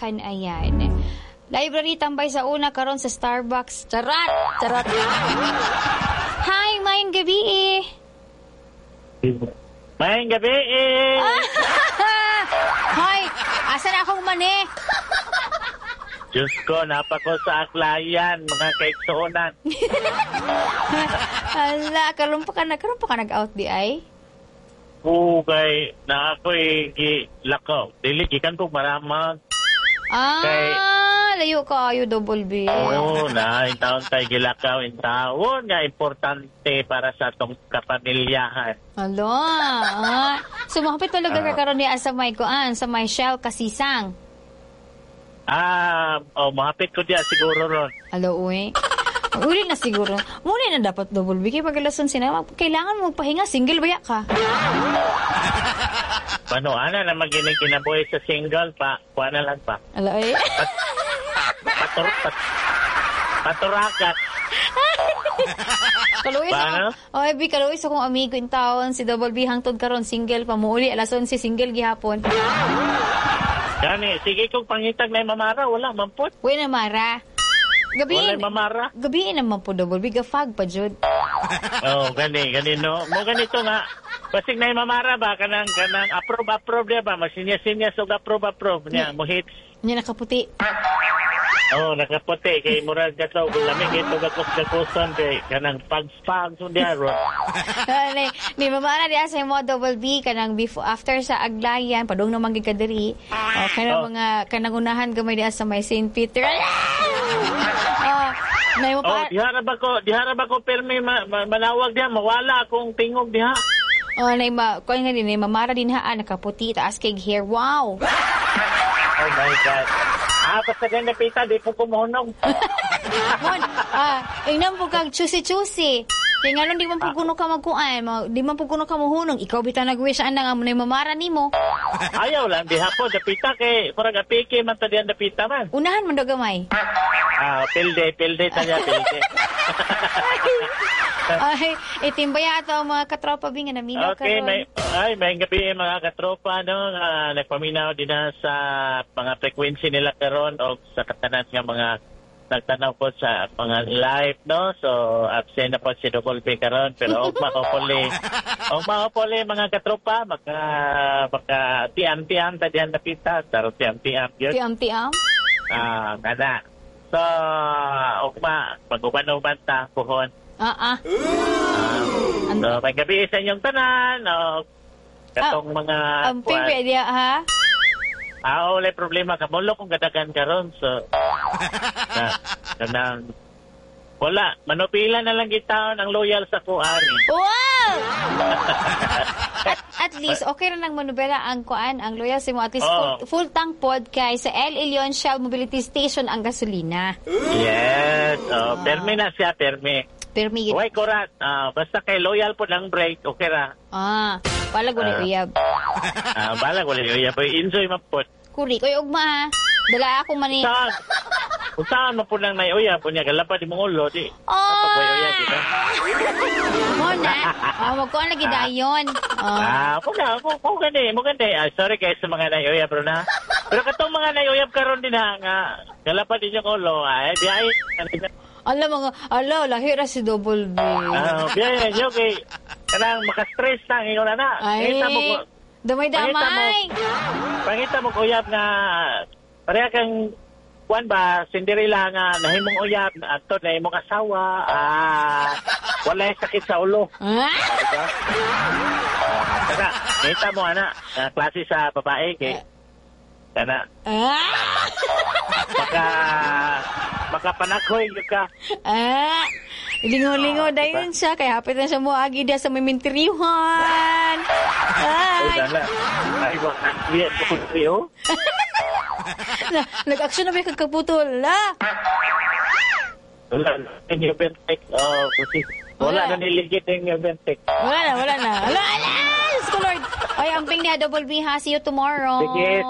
Ayan. Library tambay sa una karon sa Starbucks. Charat! Charat! Hi, maayong gabi eh. Maayong gabi eh. Hoy, asa na akong mani? Diyos ko, napako sa Aklayan, mga kaigsuonan. Hala, karon pa ka nag-out di ay? Pugay, na ako'y gilakaw. Dili, gikan ko maramag. Ah, layo kaayo, Double B. Oo, na, in taon tayo gilakaw, in taon nga importante para sa atong kapamilyahan. Hala, ah. So, mahapit talaga ka karon niya sa may kuan, sa may Shell Kasisang. Ah, oh, mahapit ko diya siguro ron. Alo, uy. Uli na siguro. Muna na dapat, Double B. Kaya pagalason sina, kailangan mo magpahinga. Single ba ya ka? Paano, ana na maginig kinabuhi sa single pa, kuha na lang pa. Alo, uy. Paturakat. Kaluoy sa Paano? akong, oh, B, kaluoy sa akong amigo in town, si Double B hangtod karon single pa muuli alas 11 single gihapon. Gani, sige kung pangitag na mamara, wala, mampot. Uy na mara. Gabi. Wala mamara. Gabi naman po, Double B, gafag pa jud. Oh, gani no. Mo ganito nga. Basig na mamara ba kanang approve approve diya ba masinya-sinya og approve approve niya mo hits. Nya nakaputi. Oh, nakaputi kay murag kato lami kay tugakos gakoson kay kanang pagspag so diya ron. Ni mamara diya sa imo, Double B, kanang before after sa Aglayan padung naman gid ka diri. Oh, kanang mga kanang unahan gamay diya sa may St. Peter. Oh, nay mo Oh, pa. diha ra ba ko permi manawag diha mawala akong tingog diha. Oh, nay ma kuan nga din nay mamara din ha, nakaputi taas kay hair. Wow. Oh my God. Ah, basta ganda pita di po kumuhunong. Mon, ingnan po kag chusi-chusi. Kaya nga di man po kuno ka magkuan, di man po kuno ka mohunong. Ikaw bitaw nag-wish ana nga mo nay mamara nimo. Ayaw lang diha po dapita kay murag apike man ta diyan dapita man. Unahan man daw gamay. Ah, pilde pilde ta niya pilde. Ay, itimbaya ato ang mga katropa bi nga naminaw Okay, karon. may gabi mga katropa no nga nagpaminaw din na sa mga frequency nila karon o sa katanan nga mga nagtanaw po sa mga live no. So absent na po si Double B karon pero ugma hopefully ugma hopefully mga katropa maka tiam-tiam ta diyan napita taro tiam-tiam gyud. Tiam-tiam. Ah, kana. So ugma pag-uban-uban ta puhon. Ah, ah. So, may gabi sa inyong tanan. O, katong mga Amping pwede ha? Ah, wala problema. Kamulo kung gadagan karon. So, na, kanang, wala. Manupila na lang gitaon ang loyal sa kuari. Wow! At least, okay ra nang manubela ang kuan, ang loyal sa mo. At least full tank pod kay sa El Elion Shell Mobility Station ang gasolina. Yes. Oh, permi na siya, permi. Permi. Way kurat. Ah, basta kay loyal po ng break, okay ra. Ah, balag wala uyab. Ah, balag wala uyab. Enjoy man po. Kuri, koy ugma ha. Dala ako man eh. Saan? Kung saan man po nang may uyab, kunya galapa di mong ulo, di. Oh! May uyab, di ba? Mo na. Oh, magkuan lagi dayon. Oh. Ah, mo gani, mo gani. Ah, sorry guys sa mga naiuyab bro na. Pero katong mga naiuyab karon din ha nga galapa din yung ulo, ay di ay. Ala mga ala lahi ra si Double B. Ah, biyahe nyo kay kanang maka-stress na ingon na na. Ay, Pangita mo damay-damay. Pangita mo uyab nga pareha kang kuan ba Cinderella nga nahimong uyab adto na imong asawa, ah, walay sakit sa ulo. Ah? Diba? Kana, kita mo ana, na klase sa babae kay kana Ah! baka makapanakhoy gyud ka. Ah! Lingo-lingo dayon siya kay hapit na siya moagi diya sa may minteryohan. Ay, Ay! dala. Ay, wa biya ko oh. Nag-action na ba yung kagkaputol? Ah! Wala na yung Bentek. Oh, kasi wala na niligit yung Bentek. Wala na, wala na. Wala, ala! Diyos ko, Lord. Ay, amping niya, Double B, ha? See you tomorrow. Sige.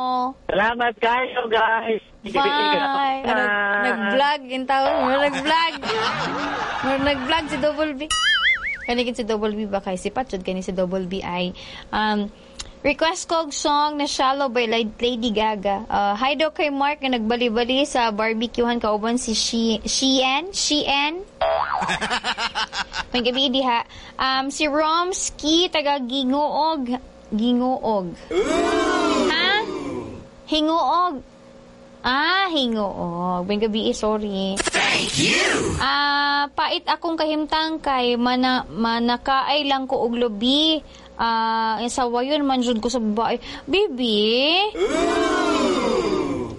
Salamat kayo, guys. Bye. Nag-vlog in taon. Nag-vlog. Nag-vlog si Double B. Kanigin si Double B ba kay si Patchod, kani si Double B ay Request ko og song na "Shallow" by Lady Gaga. Hi daw kay Mark nga nagbali-bali sa barbecuehan kauban si Shean. Shean. May gabi diha. Si Romski taga Gingoog. Gingoog. Ha? Hinguog. Ah, hinguog. May gabi, sorry. Thank you. Ah, pait akong kahimtang kay manakaay lang ko og lubi. Ah, sawayon man jud ko sa babae. Bibi.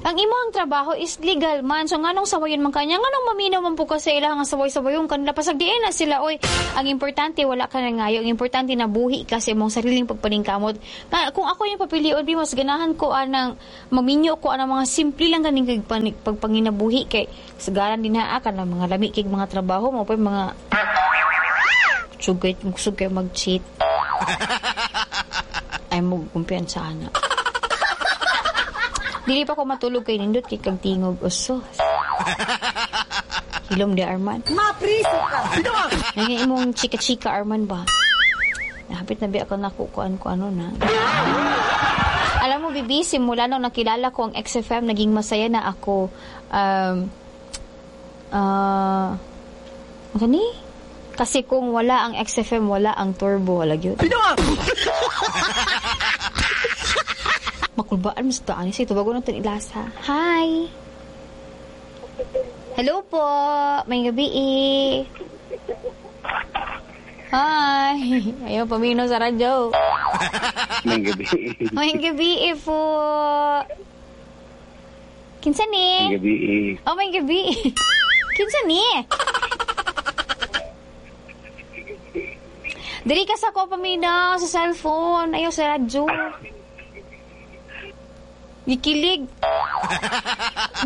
Ang imong trabaho is legal man. So nganong sawayon man kanya? Nganong maminaw man po ka sa ilang nga saway-sawayon kanila? Pasagdiin na sila oy. Ang importante wala ka na ngayo. Ang importante na buhi ka sa imong sariling pagpaningkamot. Nga, kung ako yung papilion, bi, mas ganahan ko anang maminyo ko anang mga simple lang kaning pagpanginabuhi kay sagaran din ha ka ng mga lami kay mga trabaho mo pa mga sugay sugay mag-cheat. Ay mo kumpiyansa ana. Dili pa ko matulog kay nindot kay kag tingog uso. Hilom di, Arman. Mapriso ka! Nga imong chika-chika, Arman, ba? Nahapit na bi ako nakukuan ko ano na. Alam mo, Bibi, simula nung nakilala ko ang XFM, naging masaya na ako. Ano ni? Kasi kung wala ang XFM, wala ang Turbo. Wala yun. Makulbaan mo sa taan. Sige, tubago na itong ilasa. Hi! Hello po! May gabi eh. Hi! Ayaw, pamino sa radyo. May gabi. May gabi eh po. Kinsa ni? May gabi. Oh, may gabi. Kinsa ni? Dili ka sa ko paminaw sa cellphone. Ayaw sa radyo. Gikilig.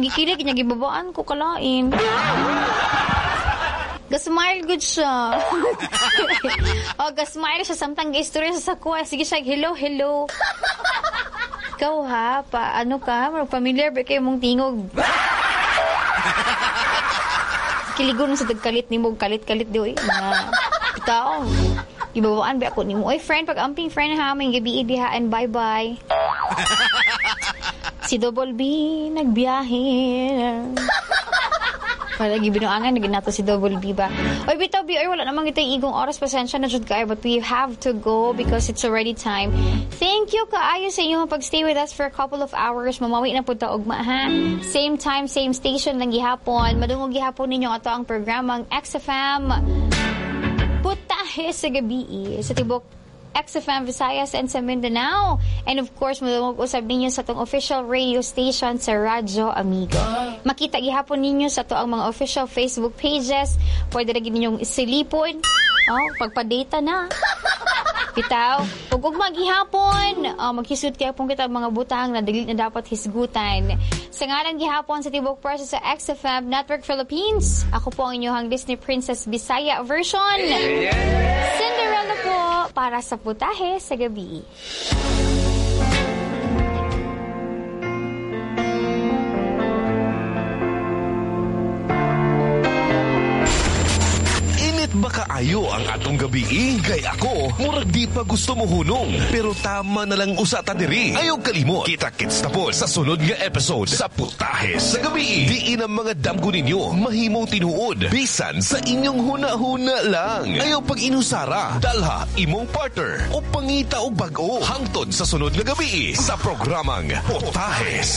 Gikilig niya, gibabaan ko kalain. Gasmile good siya. Oh, gasmile siya samtang ga-istorya siya sa kuha. Sige siya, hello, hello. Ikaw ha, pa ano ka, familiar ba kayo mong tingog? Kiligon sa tagkalit ni mo, kalit-kalit di oy. Mga tao. Gibabaan ba ako nimo? Oy, friend, pag-amping friend ha, may gabi diha and bye-bye. Si Double B, nagbiyahe. Wala, gibinuangan, naging nato si Double B ba? Oy, bitaw, B, oy, wala namang itay igong oras. Pasensya na jud kayo, but we have to go because it's already time. Thank you kaayo sa inyong pag-stay with us for a couple of hours. Mamawi na po ta ugma, ha? Same time, same station lang gihapon. Madungog gihapon ninyo ato ang programang XFM Putahe sa Gabi sa tibok XFM Visayas and sa Mindanao. And of course, madungog usab ninyo sa atong official radio station sa Radyo Amigo. Makita gihapon ninyo sa ato ang mga official Facebook pages. Pwede ra gid ninyong silipon. Oh, pagpa-data na. Bitaw, ug ugma gihapon, oh, maghisut gihapon kita ang mga butang na dili na dapat hisgutan. Sa ngalan gihapon sa tibok press sa XFM Network Philippines, ako po ang inyong Disney Princess Bisaya version. Cinderella po para sa Putahe sa Gabi. Init ba kaayo ang atong gabi? Kay ako, murag di pa gusto mo hunong. Pero tama na lang usa ta diri. Ayaw kalimot. Kita-kits na po sa sunod nga episode sa Putahe sa Gabi. Diin ang mga damgo ninyo, mahimong tinuod. Bisan sa inyong huna-huna lang. Ayaw pag inusara, dalha imong partner o pangita og bag-o. Hangtod sa sunod nga gabi sa programang Putahe